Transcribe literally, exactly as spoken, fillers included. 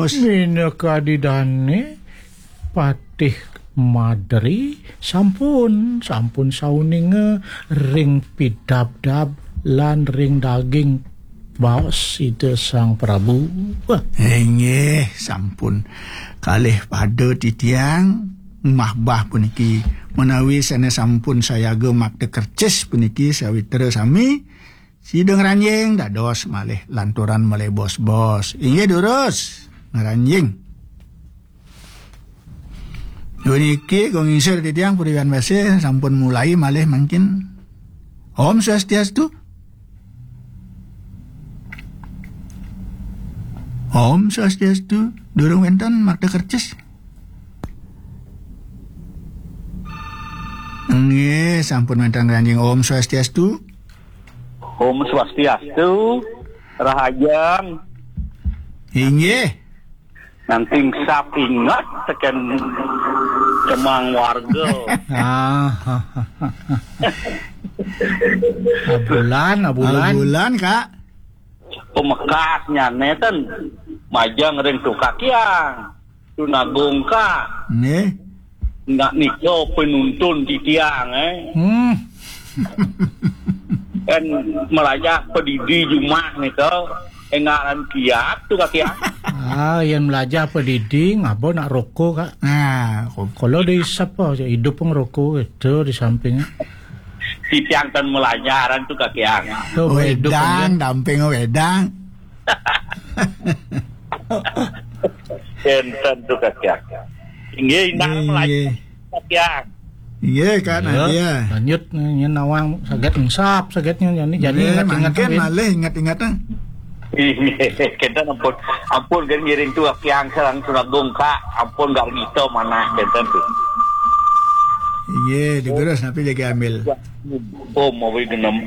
Minakadi dane Patih Madri sampun, sampun sauninga ring pidabdab lan ring daging baos Ida Sang Prabu. Inggih, sampun kalih pada titiang mahbah puniki, menawi sane sampun sayaga makta kercis puniki sawitra sami, sida ngranjing dados malih lanturan malih bos-bos. Inggih durus, ngranjing. Puniki kong ingsir titiang puriwan wase sampun mulai malih mangkin. Om Swastiastu. Om Swastiastu. Durung wenten makta kercis. Nggih, sampun wenten ngranjing. Om Swastiastu. Om Swastiastu, Rahajeng. Inggih. Nanging sap inget teken kemang warga. Ah, abulan, abulan. Abulan, Kak. Pamekasnyane ten majeng ring Tukakyang. Tunagung, Kak. Nggih. Nak nika penuntun titiang, eh. Hmm. Kan melajah pedidi jumah nika, eh, ngaran kiat tu, Kak, ya. Ah, yang melajah pedidi, ngapa nak rokok, Kak? Nah, kalau di sapa aja hidup ngerokok itu di sampingnya. Titiang ten melajah aran tu, Kak, ya. Tuh, hidup wedang, kan? Damping wedang. Enten tu, Kak, ya. Inggih, indah melajah. Kak Yang. Inggih, Kak Nadia. Lanjut, nyen nawang saget engsap, sagetnya, jani, jani. Inggih, ingat-ingat mangkin malih ingat-ingat, ah. Inggih, kenten ampun. Ampun, kan ngiring tu Kak Yang sareng Tunagung, Kak. Ampun, gak gitu mana, kenten tu. Inggih, digerus, napi jagi ambil. Oh, mau genem.